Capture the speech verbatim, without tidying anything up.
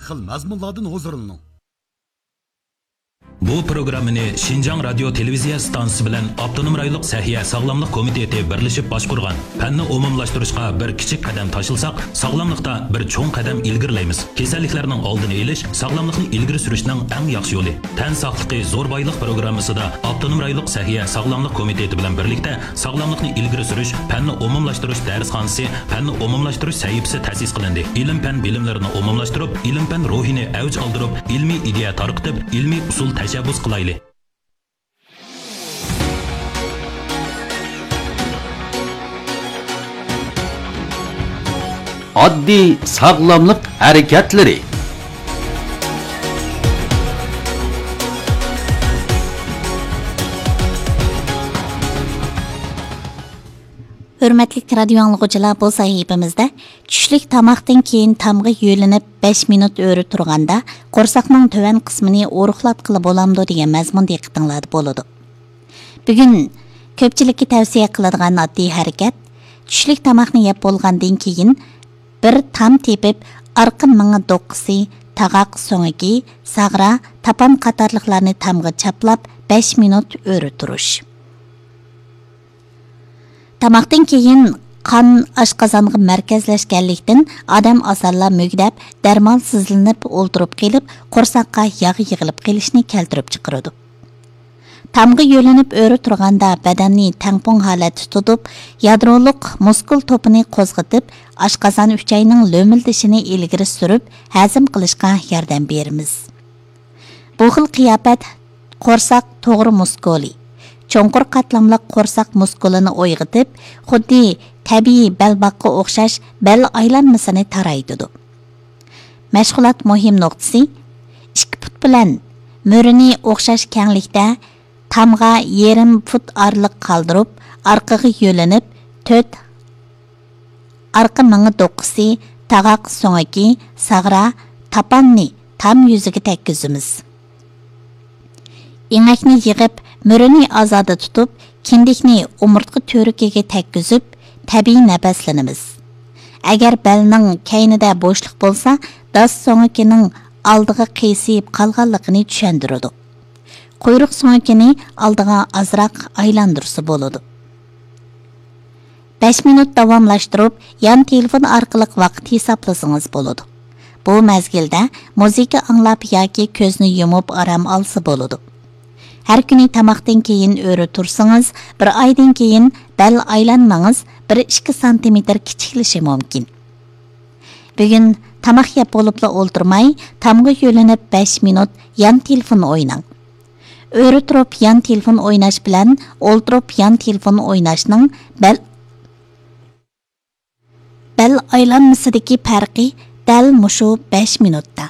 قىل مەزمۇنلاردىن ھۇزۇرلىنىڭ. بۇ پروگراممىنى شىنجاڭ رادىيو تېلېۋىزىيە ئىستانسىسى بىلەن ئاپتونوم رايونلۇق سەھىيە ساغلاملىق كومىتېتى بىرلىشىپ باشقۇرغان. پەننى ئومۇملاشتۇرۇشقا بىر كىچىك قەدەم تاشلىساق، ساغلاملىقتا بىر چوڭ قەدەم ئىلگىرىلەيمىز. كېسەللىكلەرنىڭ ئالدىنى ئېلىش، ساغلاملىقنى ئىلگىرى سۈرۈشنىڭ ئەڭ ياخشى يولى. تەن ساقلىقى زور بايلىق پروگراممىسىدا ئاپتونوم رايونلۇق سەھىيە ساغلاملىق كومىتېتى بىلەن بىرلىكتە ساغلاملىقنى ئىلگىرى سۈرۈش، پەننى ئومۇملاشتۇرۇش دەرسخانىسى، پەننى ئومۇملاشتۇرۇش سەھىپىسى تەسىس قىلىندى. ئىلىم-پەن بىلىملىرىنى ئومۇملاشتۇرۇپ، ئىلىم-پەن روھىنى ئەۋج ئالدۇرۇپ، ئىلمىي ئىدىيە تارقىتىپ، ئىلمىي ئۇسۇل تەشەببۇس قىلايلى. ئاددىي ساغلاملىق ھەرىكەتلىرى. ھۆرمەتلىك رادىيو ئاڭلىغۇچىلار، بۇ سەھىپىمىزدە چۈشلۈك تاماقتىن كېيىن تامغا يۆلىنىپ بەش مىنۇت ئۆرە تۇرغاندا قورساقنىڭ تۆۋەن قىسمىنى ئورۇقلاتقىلى بولامدۇ دېگەن مەزمۇن دىققىتىڭلاردا بولىدۇ. بۈگۈن كۆپچىلىككە تەۋسىيە قىلىدىغان ئاددىي ھەرىكەت، چۈشلۈك تاماقنى يەپ بولغاندىن كېيىن بىر تام تېپىپ، ئارقا مېڭە دوققىسى، تاغاق سۆڭىكى، ساغرا، تاپان قاتارلىقلارنى تامغا چاپلاپ، بەش مىنۇت ئۆرە تۇرۇش. تاماقتىن كېيىن قان ئاشقازانغا مەركەزلەشكەنلىكتىن، ئادەم ئاسانلا مۈگدەپ، دەرمانسىزلىنىپ ئولتۇرۇپ قېلىپ، قورساققا ياغ يىغىلىپ قېلىشنى كەلتۈرۈپ چىقىرىدۇ. تامغا يۆلىنىپ ئۆرە تۇرغاندا بەدەننى تەڭپۇڭ ھالەتتە تۇتۇپ، يادرولۇق مۇسكۇل توپىنى قوزغىتىپ، ئاشقازان ئۈچەينىڭ لۆمۈلدىشىنى ئىلگىرى سۈرۈپ، ھەزىم قىلىشقا ياردەم بېرىمىز. بۇ خىل قىياپەت قورساق توغرا مۇسكۇلى، چوڭقۇر قاتلاملىق قورساق مۇسكۇلىنى ئويغىتىپ، خۇددى تەبىئىي بەلباغقا ئوخشاش بەل ئايلانمىسىنى تارايتىدۇ. مەشغۇلات مۇھىم نۇقتىسى، ئىككى پۇت بىلەن مۈرىنى ئوخشاش كەڭلىكتە تامغا يېرىم پۇت ئارىلىق قالدۇرۇپ، ئارقىغا يۆلىنىپ، تۆت ئارقا مېڭە دوققىسى، تاغاق سۆڭىكى، ساغرا، تاپاننى تام يۈزىگە تەگكۈزىمىز. ئېڭەكنى يىغىپ، مۈرىنى ئازادە تۇتۇپ، كىندىكنى ئومۇرتقا تۈۋرۈكىگە تەگكۈزۈپ، تەبىئىي نەپەسلىنىمىز. ئەگەر بەلنىڭ كەينىدە بوشلۇق بولسا، داس سۆڭىكىنىڭ ئالدىغا قىيسىيىپ قالغانلىقىنى چۈشەندۈرىدۇ. قۇيرۇق سۆڭىكىنى ئالدىغا ئازراق ئايلاندۇرسا بولىدۇ. بەش مىنۇت داۋاملاشتۇرۇپ، يان تېلېفون ئارقىلىق ۋاقىت ھېسابلىسىڭىز بولىدۇ. بۇ مەزگىلدە مۇزىكا ئاڭلاپ ياكى كۆزنى يۇمۇپ ئارام ئالسا بولىدۇ. ھەر كۈنى تاماقتىن كېيىن ئۆرە تۇرسىڭىز، بىر ئايدىن كېيىن بەل ئايلانمىڭىز بىر ئىككى سانتىمېتىر كىچىكلىشى مۇمكىن. بۈگۈن تاماق يەپ بولۇپلا ئولتۇرماي، تامغا يۆلىنىپ بەش مىنۇت يان تېلېفون ئويناڭ. ئۆرە تۇرۇپ يان تېلېفون ئويناش بىلەن ئولتۇرۇپ يان تېلېفون ئويناشنىڭ بەل، بەل ئايلانمىسىدىكى پەرقى دەل مۇشۇ بەش مىنۇتتا.